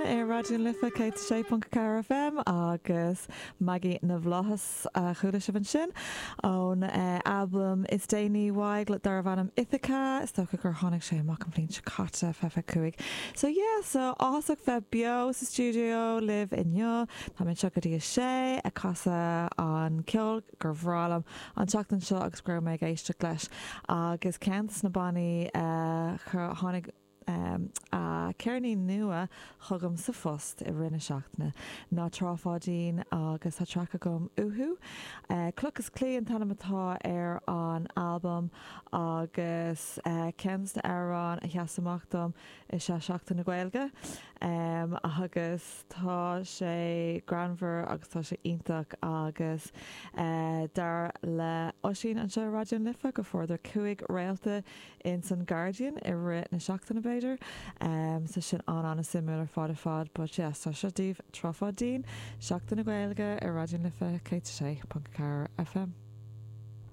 ar Raidió na Life 106.4 FM agus Maggie na bhFlaitheas a chuala sibh ansin ón albam is déanaí uaidh darbh ainm Ithaca. Is dócha gur tháinig sé amach an bhliain seo caite, 25. So yeah, so áthasach bheith beo sa stiúideo libh inniu. Tá mé anseo go dtí a sé ag casadh an ceol gur bhreá liom an tseachtain seo agus go raibh mé ag éisteacht leis agus ceann de na bannaí a tháinig a ceirnín nua chugam sa phost i rith na seachtaine ná Trá Pháidín agus tá traic agam uathu. Cloch is Claí an t-ainm atá ar an albam agus ceann de na amhráin a sheas amach dom is ea Seachtain na Gaeilge agus tá sé greannmhar agus tá sé iontach agus dar le Oisín anseo i Raidió na Life go fuaireadar 5 réalta ins an Guardian i rith na seachtaine b'fhéidir so sin an-an-suimiúil ar fad ar fad but yeah so seo daoibh Trá Pháidín, Seachtain na Gaeilge ar Raidió na Life 106.4 FM.